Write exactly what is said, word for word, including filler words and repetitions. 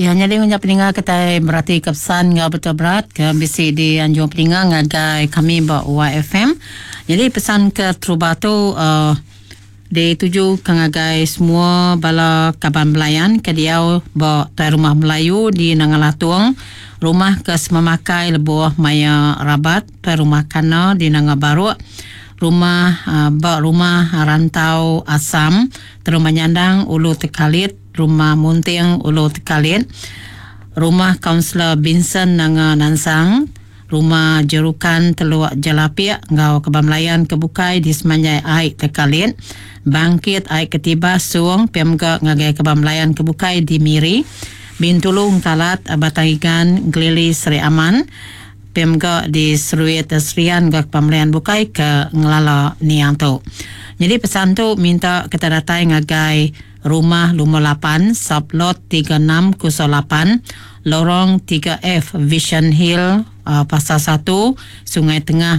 Ya, nyadi punya peninga kita berarti kepesan ngau betul berat ke bisi di anjung peninga ngagai kami ba Y F M. Jadi pesan ke terubah tu uh, dituju ke ngagai semua bala kaban belayan ke diau ba tuai rumah Melayu di Nanga Latung, rumah ke semamakai lebuh maya rabat, tuai rumah Kana di Nanga Baruk, rumah uh, ba rumah Rantau Asam, Rumah Nyandang Ulu Tekalit, Rumah Munting Ulu Tekalit, Rumah Kaunselor Vincent Nanga Nansang, Rumah Jerukan Teluk Jelapiak ngau Kebam Melayan Kebukai di Semanjai Aik Tekalit, Bangkit Aik Ketibas Suang P M G ngagai Kebam Melayan Kebukai di Miri, Bintulu, Kalat, Batang Igan, Gelili Seri Aman, P M G di Seruit Serian ke Kebam Bukai ke ngelala niang tu. Jadi pesan tu minta kita datang ngagai rumah lumur lapan, sublot tiga enam kosong lapan, lorong tiga F, Vision Hill, uh, Pasar satu, Sungai Tengah.